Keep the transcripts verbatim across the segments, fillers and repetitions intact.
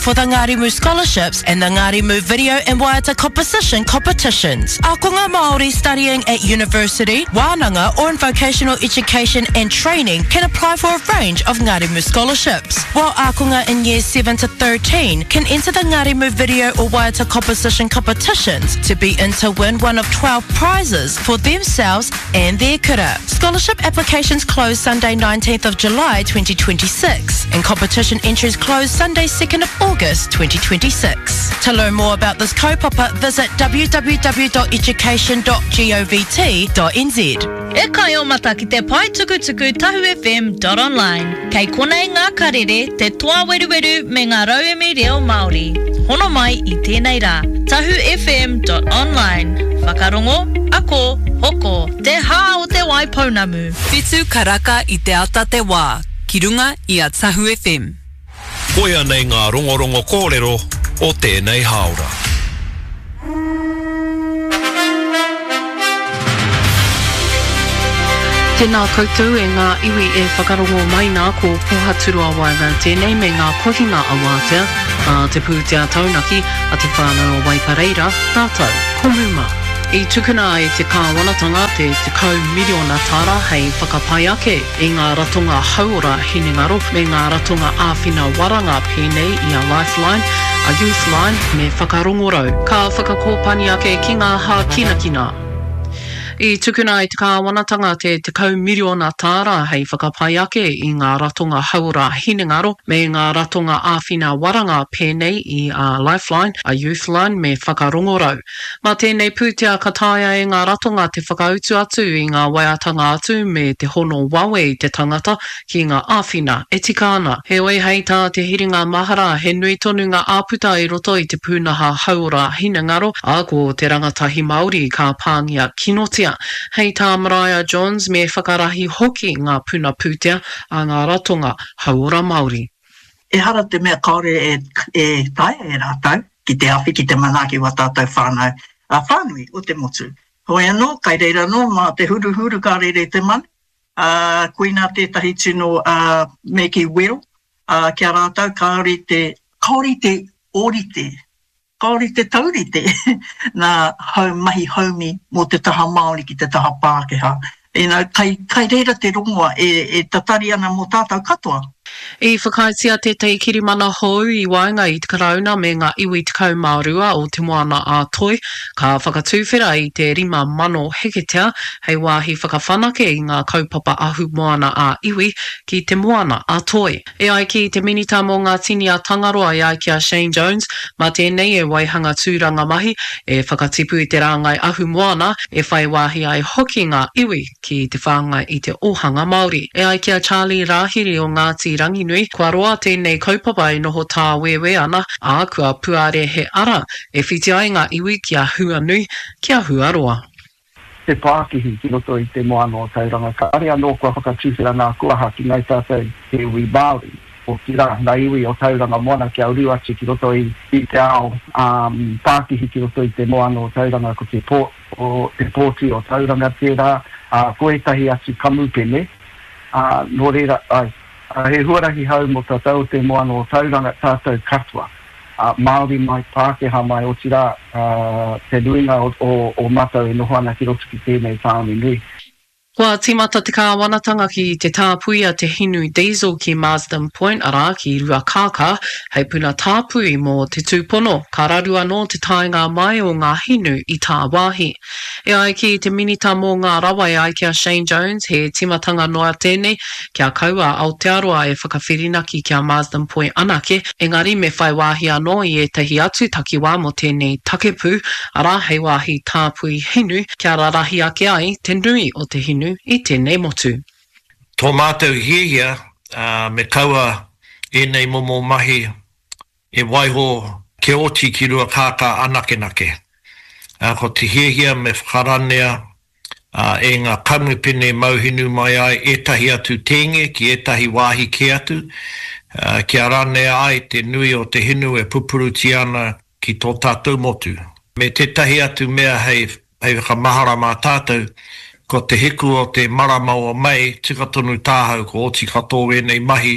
for the Ngārimu Scholarships and the Ngārimu Video and Waiata Composition Competitions. Ākonga Māori studying at university, wānanga or in vocational education and training can apply for a range of Ngārimu Scholarships, while ākonga in years seven to thirteen can enter the Ngārimu Video or Waiata Composition Competitions to be in to win one of twelve prizes for themselves and their kura. Scholarship applications close Sunday nineteenth of July twenty twenty-six and competition entries close Sunday second of August twenty twenty-six. To learn more about this kaupapa, visit w w w dot education dot govt dot n z. E kai o mata ki te pae tukutuku tahu F M dot online. Kei konei ngā karere, te toa weruweru me ngā rauemi reo Māori. Hono mai i tēnei rā. tahu F M dot online. Whakarongo, ako, hoko, te hā o te Waipounamu. Whitu karaka i te ata te wā, ki runga i a Tahu F M. Koia nei ngā rongorongo kōrero o tēnei hāora. Tēnā koutou e ngā iwi e whakarongo mai nā, ko Pohaturoa Wyburn tēnei me ngā kohinga awātea a te pūtea taunaki a te whānau o Waipareira rātou ko Muma. I tukuna e te kāwanatanga te tekau miriona tāra hei whakapai ake i ngā ratonga hauora hinengaro me ngā ratonga āwhina waranga pēnei i a Lifeline, a Youthline me Whakarongorau. Ka whakakōpani ake ki ngā hākinakina. I tukuna e te kāwanatanga te tekau miriona tāra hei whakapai ake i ngā ratonga hauora hinengaro me ngā ratonga āwhina waranga pēnei i a Lifeline, a Youthline me Whakarongorau. Mā tēnei pūtea ka taea e ngā ratonga te whakautu atu i ngā waeatanga atu me te hono wawe i te tangata ki ngā āwhina e tika ana. Heoi hei tā te hiringa mahara he nui tonu ngā āputa i roto i te pūnaha hauora hinengaro, ā, ko te rangatahi Māori ka pāngia kinotia. Hei tā Maraea Johns me whakarahi hoki ngā puna pūtea a ngā ratonga hauora Māori. Ehara te mea kāore e, e taea e rātou ki te awhi, ki te manaaki wa tātou whānau a whānui o te motu. Hoi anō, kai reira anō, mā te huruhuru ka rere te manu, uh, koina tētahi tino uh, me ki wero, uh, kia rātou kāore te, kāore te ōrite, kāore te taurite nā hau mahi haumi mō te taha Māori ki te taha Pākehā. You know, kai, kai reira te rongoa e, e tatari ana mō tātou katoa. I whakaaetia tētahi kirimana hou i waenga i te Karauna me ngā iwi tekau mā rua o Te Moana a Toi, ka whakatuwhera i te rima mano heketea hei wāhi whakawhanake i ngā kaupapa ahu moana a iwi ki Te Moana a Toi. E ai ki te Minita mō ngā Tini a Tangaroa e ai ki a Shane Jones, mā tēnei e waihanga tūranga mahi, e whakatipu i te rāngai ahu moana, e whai wāhi ai hoki ngā iwi ki te whāngai i te ōhanga Māori. E ai ki a Charlie Rāhiri o Ngāti Ranginui, kua roa tēnei kaupapa e noho tāwewe ana, ā, kua puare he ara e whiti ai ngā iwi ki a Huanui, ki a Huaroa. Te pākihi ki roto i te moana o Tauranga. Kāre anō kua whakatuwhera ngā kuaha ki ngai tātou te iwi Māori, otirā, ngā iwi o Tauranga Moana kia uru atu ki roto i, i te ao um, pākihi ki roto i te moana o Tauranga, ko te, pō, o, te pōti o Tauranga tērā, uh, ko ētahi atu kamupene, uh, nō reira, ai, uh, he huarahi hou mō tātou o te moana o Tauranga, tātou katoa. Uh, Māori mai, Pākehā mai, otirā, uh, te nuinga o, o, o mātou e noho ana ki roto ki tēnei tāone nui. Kua tīmata te kāwanatanga ki te tāpuia te hinu diesel ki Marsden Point, arā ki Ruakākā, hei puna tāpui mō te tūpono, ka raru anō te taenga mai o ngā hinu i tāwāhi. E ai ki te Minita mō ngā rawa e ai ki a Shane Jones, he timatanga noa tēnei, kia kaua Aotearoa e whakawhirinaki ki a Marsden Point anake, engari me whai wāhi anō i ētahi atu takiwā mō tēnei takepū, arā hei wāhi tāpui hinu, kia rarahi ake ai te nui o te hinu i tēnei motu. Tō mātou hiahia, uh, me kaua ēnei momo mahi e waiho ke oti ki Ruakākā anakenake. Uh, ko te hiahia me whakaranea uh, e ngā kamupene mauhinu mai ai ētahi atu tēnge ki ētahi wāhi kē atu, uh, kia ranea ai te nui o te hinu e pupurutia ana ki tō tātou motu. Me tētahi atu mea hei, hei whakamahara mā tātou, ko te hiku o te marama o Mei, tika tonu tāhau ko oti katoa ēnei mahi.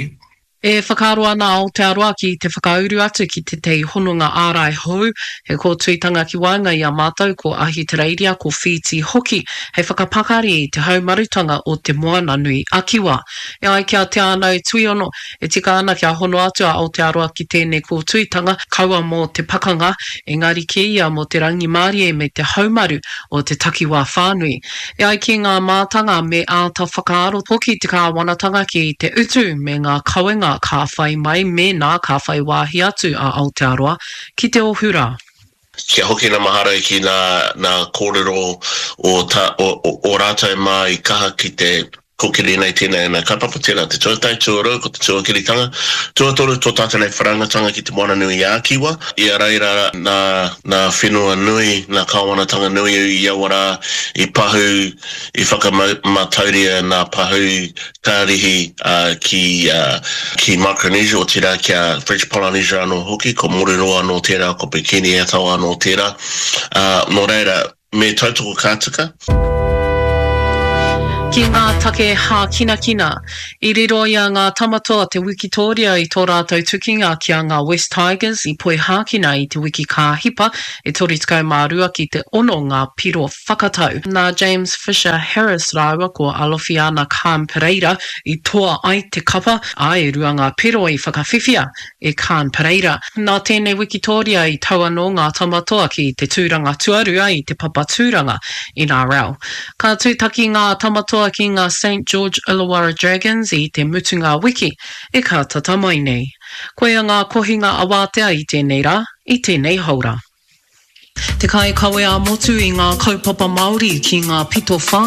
E whakaaro ana a Aotearoa ki te whakauru atu ki tētahi hononga ārai hou, he kōtuitanga ki waenga i a mātou ko Ahitereiria, ko Whītī hoki, hei whakapakari i te haumarutanga o Te Moananui-a-Kiwa. E ai ki a Te Ānau Tuiono, e tika ana kia hono atu a Aotearoa ki tēnei kōtuitanga, kaua mō te pakanga, engari kē ia mō te rangimārie me te haumaru o te takiwā whānui. E ai ki ngā mātanga, me āta whakaaro hoki te kāwanatanga ki te utu me ngā kawenga ka whai mai mēnā ka whai wāhi atu a Aotearoa ki te ohu rā. Kia hoki na mahara ki na na kōrero o ta o o rātou mā i kaha ki te Kōkiri nei tēnei ana kaupapa, tērā te tuatahi, tuarua ko te tuakiritanga, tuatoru tō tātou nei whanaungatanga ki Te Moana-nui-ā-Kiwa. I a reira nā, nā whenua nui, nā kāwanatanga nui i aua rā i pahū, i whakamātauria nā pahū kārihi ki, ki Micronesia, otirā ki a French Polynesia anō hoki, ko Moruroa anō tērā, ko Bikini Atoll anō tērā. Ā, nō reira, Me tautoko ka tika. Ki ngā take hākinakina. I riro i a Ngā Tamatoa te wikitōria i tō rātou tukinga ki a Ngā West Tigers i Poihākina i te wiki ka hipa, e toru tekau mā rua ki te ono ngā piro whakatau. Nā James Fisher Harris rāua ko Alofiana Khan Pereira i toa ai te kapa, ā, e rua ngā piro i whakawhiwhia e Khan Pereira. Nā tēnei wikitōria i tau anō ngā Tamatoa ki te tūranga tuarua i te papa tūranga N R L. Ka tūtaki ngā Tamatoa ki ngā Saint George Illawarra Dragons i te mutunga wiki e kātata mai nei. Koia ngā kohinga awātea i tēnei rā, i tēnei haora. Te kaikawe ā-motu i ngā kaupapa Māori ki ngā pito whānui.